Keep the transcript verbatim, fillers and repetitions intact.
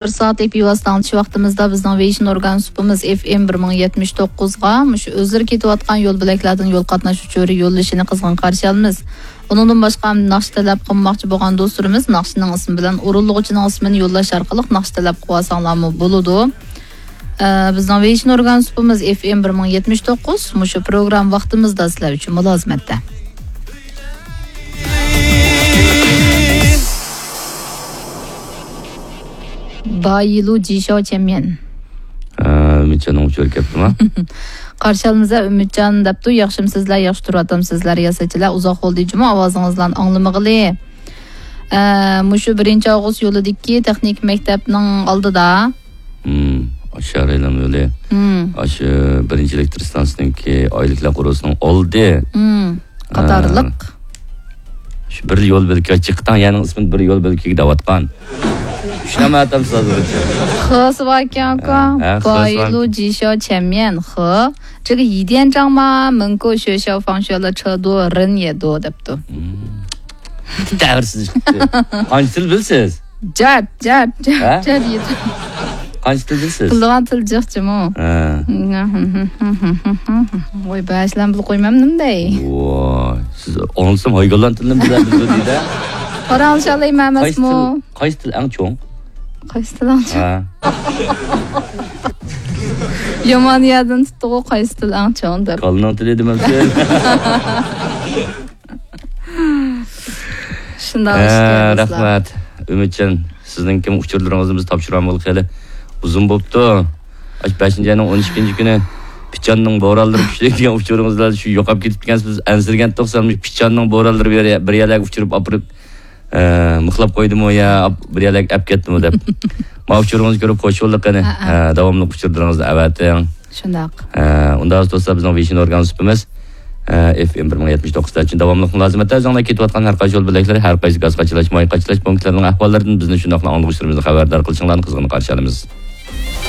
بىر سائەتلىك بىۋاسىتە ئاڭلىتىش ۋاقتىمىزدا بىزنىڭ ۋېيشىن ئورگان سۇپىمىز ئېف ئېم بىر مىڭ يەتمىش توققۇزغا مۇشۇ ئۆزلىرى كېتىۋاتقان يول بۆلەكلەردىن يول قاتناش ئۇچۇرى يوللىشىنى قىزغىن قارشى ئالىمىز. ئۇنىڭدىن باشقا ناخشا تەلەپ قىلماقچى بولغان دوستلىرىمىز ناخشىنىڭ ئىسمى بىلەن ئورۇنلىغۇچىنىڭ ئىسمىنى يوللاش ئارقىلىق ناخشا تەلەپ قىلىۋالساڭلارمۇ بولىدۇ. ئە، بىزنىڭ ۋېيشىن ئورگان سۇپىمىز ئېف ئېم بىر مىڭ يەتمىش توققۇز، مۇشۇ پروگرامما ۋاقتىمىزدا سىلەر ئۈچۈن مۇلازىمەتتە. بايىلۇ جىشاۋ چيەنميەن. ئە، ئۈمىدجاننىڭ ئۇچۇرى كەپتىما؟ قارشى ئالىمىز ئە ئۈمىدجان دەپتۇ، ياخشىمۇسىزلەر، ياخشى تۇرۇۋاتامسىزلەر، رىياسەتچىلەر، ئۇزاق بولدى جۇمۇ، ئاۋازىڭىزلارنى ئاڭلىمىغىلى. ئە، مۇشۇ بىرىنچى ئاۋغۇست يولىدىكى تېخنىكا مەكتەپنىڭ ئالدىدا. ھىم، ئاشۇ شەھەر ئايلانما يولى. ھىم. ئاشۇ بىرىنچى ئېلېكتر ئىستانسىسىنىڭكى ئايلىكلەر قورۇسىنىڭ ئالدى. ھىم. قاتارلىق. ھە. شۇ بىر يول بۆلىكى، چىقتاڭ يەرنىڭ ئىسمىنى بىر يول بۆلىكىگە دەۋاتقان. شۇنى ئەمەتەمسىز ھازىرغىچە. خېسى باركەن ئۇكا. ھە، ھە، خېسى باركەن. بايلۇ جىشاۋ چيەنميەن خې. جىگە يىديەن جاڭما مېنكو شۆشاۋ فاڭشۈەنلې چېدۇ رېن يېدۇ دەپتۇ. ھىم. تەۋرسىز چىقتى. قانچە تىل بىلىسىز؟ جات، جات، جات، ھە؟ جات يېتىم. قانچە تىل بىلىسىز؟ بىلىدىغان تىل جىق جۇمۇ. ھە. ۋاي، بەشلەن بىلىپ قويمامدىم دەي. ۋاي، سىز ئاڭلىسام ھايگانلان تىلىنى بىلەر بىلىدۇ دەيدۇ. پاراڭلىشالايمەن قايسى ئەمەسمۇ؟ تىل، قايسى تىل ئەڭ چوڭ؟ قايسى تىل ئەڭ چوڭ؟ ھە. يامان يەردىن تۇتتىغۇ، قايسى تىل ئەڭ چوڭ دەپ. كالىنىڭ تىلى دېمەمسىز؟ شۇنداق ئىكەن، دوستلار. رەھمەت. ئۈمىدجان، سىزنىڭكى ئۇچۇرلىرىڭىزنى بىز تاپشۇرالمىغىلى خېلى ئۇزۇن بوپتۇ. ئاشۇ بەشىنچى ئاينىڭ ئون ئىككىنچى كۈنى پىچاننىڭ بورانلىرى كۈچلۈك دېگەن ئۇچۇرىڭىز بىلەن شۇ يوقاپ كېتىپتىكەنسىز، بىز ئەنسىرىگەنتۇق، سەن مۇشۇ پىچاننىڭ بورانلىرى بىر، بىر يەرلەرگە ئۇچۇرۇپ ئاپىرىپ، ئە، مىخلاپ قويدىمۇ يا ئاپ-، بىر يەرلەرگە ئەپ كەتتىمۇ دەپ. ما ئۇچۇرىڭىزنى كۆرۈپ خوش بولدۇق قېنى. ھە، ھە. ئە، داۋاملىق ئۇچۇرلىرىڭىزنى ئەۋەتىڭ. شۇنداق. ئە، ئۇنداق دوستلار، بىزنىڭ ۋېيشىن ئورگان سۇپىمىز، ئە، ئېف ئېم بىر مىڭ يەتمىش توققۇز ئۈچۈن داۋاملىق مۇلازىمەتتە ئۆزۈڭلار كېتىۋاتقان ھەر قايسى يول بۆلەكلىرى، ھەر قايسى گاز قاچىلاش، ماي قاچىلاش پونكىتلىرىنىڭ ئەھۋاللىرىدىن بىزنى شۇنداقلا ئاڭلىغۇچىلىرىمىزنى خەۋەردار قىلىشىڭلارنى قىزغىن قارشى ئالىمىز.